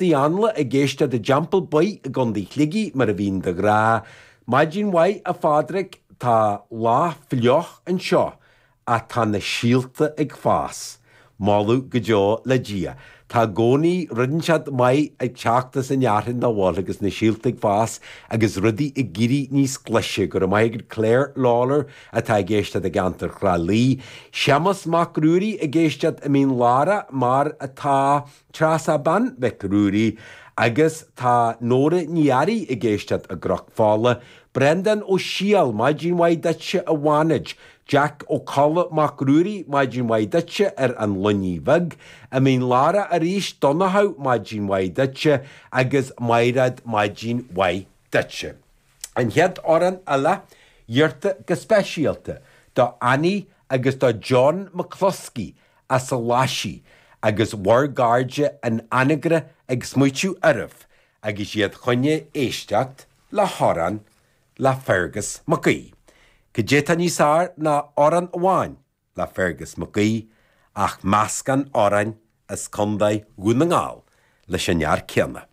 Uí Anla ag éisteacht i dTeampall Baoith i gContae Shligigh mar a bhíonn de ghnáth. Maidin mhaith a Phádraig, tá lá fliuch anseo ach tá na síolta ag fás. Moladh go deo le Dia. Tá i gcónaí rud inteacht maith ag teacht as an fhearthainn dá bhfuil agus na síolta ag fás agus rudaí ag éirí níos glaise. Go raibh maith agat Claire Lawlor atá ag éisteacht i gceantar Thrá Lí. Séamus Mac Ruairí ag éisteacht i Mín Lárach mar atá. Treasa Bean Mhic Ruairí agus tá Nóra Ní Fhearraigh ag éisteacht i gCnoc Fola. Breandán Ó Siadhail, maidin mhaith duitse a Bhánid. Jack Ó Colla Mac Ruairí, maidin mhaith duitse ar an Luinnigh Bheag. I Mín Lárach arís, Donnchadh, maidin mhaith duitse agus Maighread, maidin mhaith duitse. An chéad amhrán eile, iarrta go speisialta do Annie agus do John McCluskey as an Ghlaisigh agus bhur gcairde in Anagaire ag smaoitiú oraibh agus iad chun éisteacht le hamhrán le Fergus Mac Aoidh. Cad é atá níos fearr ná amhrán amháin le Fergus Mac Aoidh ach meascán amhráin as Contae Dhún na nGall leis an fhear céanna.